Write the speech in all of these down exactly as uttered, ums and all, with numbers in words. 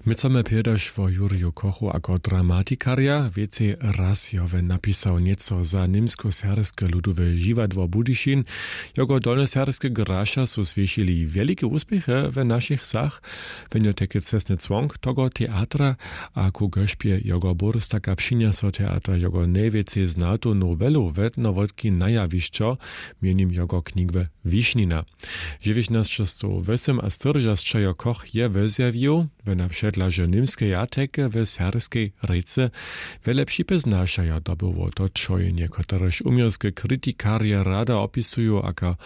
My chcemy pjedaš wo Jurju Kochu ako dramatikarja. Wěcej raz jo wón napisał něco za němskoserbske ludowe žiwadło Budyšin. Jogo dolnjoserbske graša su swěšili wjelike wuspěchy w našich wsach. Wón jo tajke cestny cłonk togo teatra, a ku gošpje jogo burstaka přinjeso teater jogo nejwěcej znatu nowelu wetnowotki na jawišćo, mjenjim jogo knjigły Wišnina. Dźewjećnaćestowwosymaštyrjećdźesat jo Koch je wozjawił, wona předlaže němskeje jateke w serbskej rěcy. Wjele připěznašajo dobyło to čojenje, kotrež uměrske kritikarje rada opisuju jako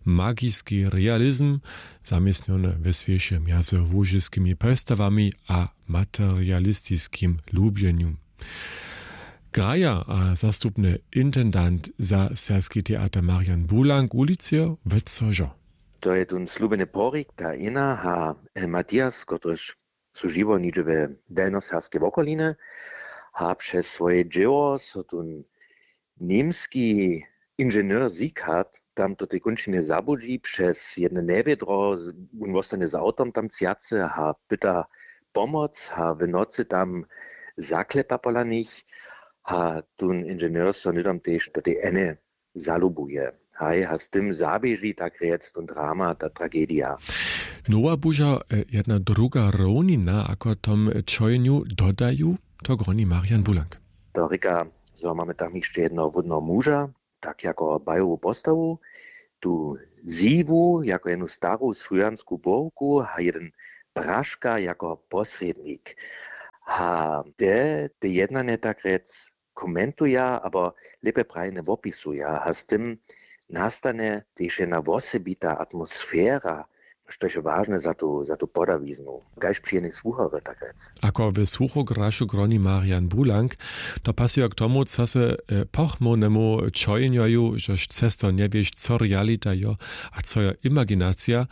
magiski realizm, zaměstnjony we swěše mjezy łužiskimi postawami a materialistiskim lubjenju. Graja a zastupny intendant za serbski teater Marian Bulank wulicyjo wětcožo. To je tón slubjeny porik, ta Ina a, e, Matthias, kotryž su žiwo něhdźe w delnjoserbskej wokolinje, a přez swoje dźěło so tón němski inženjer Sieghardt tam do tej kónčiny zabudźi přez jedne njewědro, wón wostanje z awtom tam cjacy a pyta pomoc a w nocy tam zaklepa pola nich a tón inženjer so hnydom tež do tej Eny zalubuje. Haj, a z tym zaběži tak rjec tón drama, ta tragedija. Nowa buža, e, jedna druga rownina, ako tom čojenju dodaju, to groni Marian Bulank. To rěka, zo mamy tam hišće jedno wódneho muža, tak jako bajowu postawu, tu Ziwu jako jednu staru słowjansku bórku a jeden Praška jako posrědnik. A te, te jednanje tak rjec komentuja, abo lěpje prajnje wopisuja a z tym nastanje tež jedna wosebita atmosfera, štož je wažne za tu, za tu podawiznu. Kaž při jednej słuchorje, tak rjec. Ako w słuchograšu groni Marian Bulank, to pasuje k tomu, co se, e, pochmownemu čojenjoju, žož cesto njewěš, co realita jo a co jo imaginacija,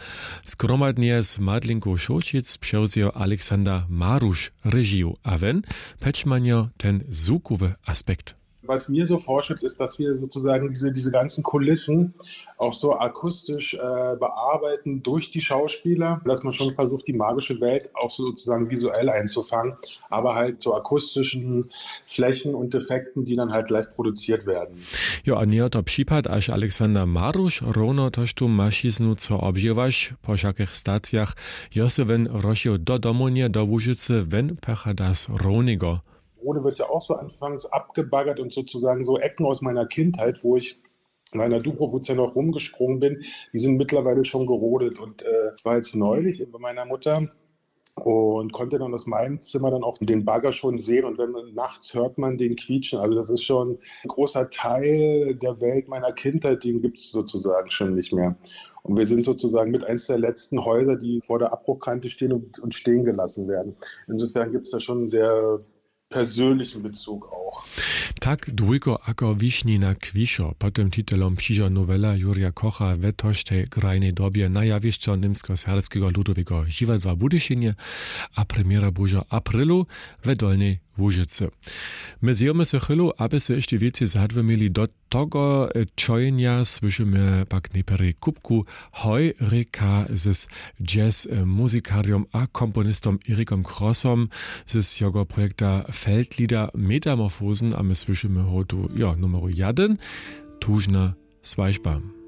zgromadnje z Madlinku Šołćic přewzejo Aleksander Maruš režiju a wón přećmanjo ten zwukowy aspekt. Was mir so vorschwebt, ist, dass wir sozusagen diese, diese ganzen Kulissen auch so akustisch, äh, bearbeiten durch die Schauspieler, dass man schon versucht, die magische Welt auch so sozusagen visuell einzufangen, aber halt zu akustischen Flächen und Defekten, die dann halt live produziert werden. Jo, a njeje to připad, až Aleksander Maruš rowno tož tu mašiznu, co obžiwaš, po wšakich stacijach jo se wón wróšił do domownje, do Łužicy, wón pochada z Rowneho. Rode wird ja auch so anfangs abgebaggert und sozusagen so Ecken aus meiner Kindheit, wo ich in meiner Dubrowitze noch rumgesprungen bin, die sind mittlerweile schon gerodet. Und, äh, ich war jetzt neulich bei meiner Mutter und konnte dann aus meinem Zimmer dann auch den Bagger schon sehen. Und wenn man, nachts hört man den quietschen. Also das ist schon ein großer Teil der Welt meiner Kindheit, den gibt's sozusagen schon nicht mehr. Und wir sind sozusagen mit eins der letzten Häuser, die vor der Abbruchkante stehen und, und stehen gelassen werden. Insofern gibt's da schon einen sehr persönlichen Bezug auch. Tak dwójko ako Wišnina kwišo. Pod tym titelom přižo nowela Jurja Kocha we toštej grajnej dobje na jawišćo Němskoserbskeho ludoweho žiwadła w Budyšinje a premjera bužo w aprilu we Dolnej Łužicy. My zjejemy se chwilu, aby se hišće wěcej zadwymili do togo, e, čojenja, słyšimy pak nejprjedy kupku Hoj rěka z jazz, e, muzikarjom a komponistom Erikom Krossom z jeho projekta Feldlieder Metamorphosen, a my słyšimy hotu, jo, numeru jeden, Tužna swažba.